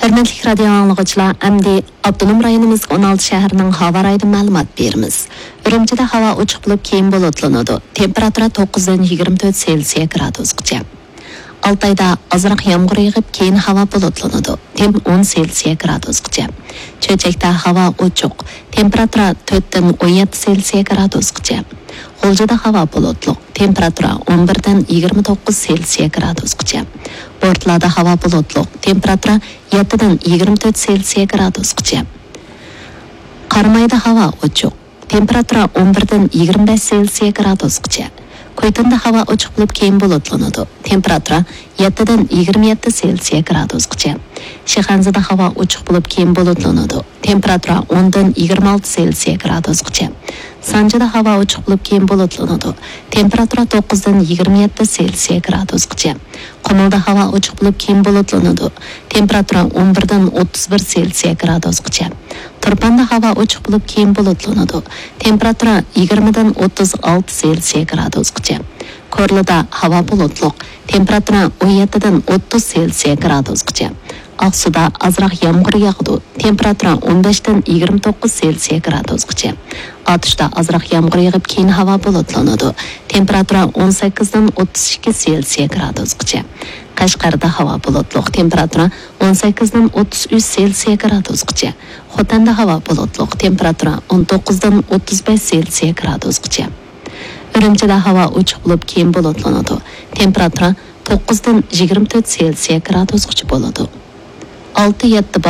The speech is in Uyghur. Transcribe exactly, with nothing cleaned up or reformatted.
ھۆرمەتلىك رادىيو ئاڭلىغۇچىلار، ئەمدى ئاپتونوم رايونىمىزغا ئون ئالتە شەھەرنىڭ ھاۋا رايىدىن مەلۇمات بېرىمىز. ئۈرۈمچىدە ھاۋا ئوچۇق بولۇپ، كېيىن بۇلۇتلىنىدۇ. تېمپېراتۇرا توققۇزدىن يىگىرمە تۆت سېلسىيە گرادۇسقىچە. ئالتايدا ئازراق يامغۇر يېغىپ، كېيىن ھاۋا بۇلۇتلىنىدۇ. تېم ئون سېلسىيە گرادۇسقىچە. چۆچەكتە ھاۋا ئوچۇق. تېمپېراتۇرا تۆتتىن ئون يەتتە سېلسىيە گرادۇسقىچە. غۇلجىدا ھاۋا بۇلۇتلۇق. تېمپېراتۇرا ئون بىردىن يىگىرمە توققۇز سېلسىيە گرادۇسقىچە. بورتالادا ھاۋا بۇلۇتلۇق. تېمپېراتۇرا يەتتىدىن يىگىرمە تۆت سېلسىيە گرادۇسقىچە. قارامايدا ھاۋا ئوچۇق. تېمپېراتۇرا ئون بىردىن يىگىرمە بەش سېلسىيە گرادۇسقىچە. كۇيتۇندا ھاۋا ئوچۇق بولۇپ، كېيىن بۇلۇتلىنىدۇ. تېمپېراتۇرا يەتتىدىن يىگىرمە يەتتە سېلسىيە گرادۇسقىچە. شىخەنزىدە ھاۋا ئوچۇق بولۇپ، كېيىن بۇلۇتلىنىدۇ. تېمپېراتۇرا ئوندىن يىگىرمە ئالتە سېلسىيە گرادۇسقىچە. سانجىدا ھاۋا ئوچۇق بولۇپ، كېيىن بۇلۇتلىنىدۇ. تېمپېراتۇرا توققۇزدىن يىگىرمە يەتتە سېلسىيە گرادۇسقىچە. قۇمۇلدا ھاۋا ئوچۇق بولۇپ، كېيىن بۇلۇتلىنىدۇ. تېمپېراتۇرا ئون بىردىن ئوتتۇز بىر سېلسىيە گرادۇسقىچە. تۇرپاندا ھاۋا ئوچۇق بولۇپ، كېيىن بۇلۇتلىنىدۇ. تېمپېراتۇرا يىگىرمىدىن ئوتتۇز ئالتە سېلسىيە گرادۇسقىچە. كورلىدا ھاۋا بۇلۇتلۇق. تېمپېراتۇرا ئون يەتتىدىن ئوتتۇز سېلسىيە گرادۇسقىچە. ئاقسۇدا ئازراق يامغۇر ياغىدۇ. تېمپېراتۇرا ئون بەشتىن يىگىرمە توققۇز سېلسىيە گرادۇسقىچە. ئاتۇشتا ئازراق يامغۇر يېغىپ، كېيىن ھاۋا بۇلۇتلىنىدۇ. تېمپېراتۇرا ئون سەككىزدىن ئوتتۇز ئىككى سېلسىيە گرادۇسقىچە. قەشقەردە ھاۋا بۇلۇتلۇق. تېمپېراتۇرا ئون سەككىزدىن ئوتتۇز ئۈچ سېلسىيە گرادۇسقىچە. خوتەندە ھاۋا بۇلۇتلۇق. تېمپېراتۇرا ئون توققۇزدىن ئوتتۇز بەش سېلسىيە گرادۇسقىچە. ئۈرۈمچىدە ھاۋا ئوچۇق بولۇپ، كېيىن بۇلۇتلىنىدۇ. تېمپېراتۇرا توققۇزدىن يىگىرمە تۆت سېلسىيە گرادۇسقىچە بولىدۇ. ئالتە يەتتە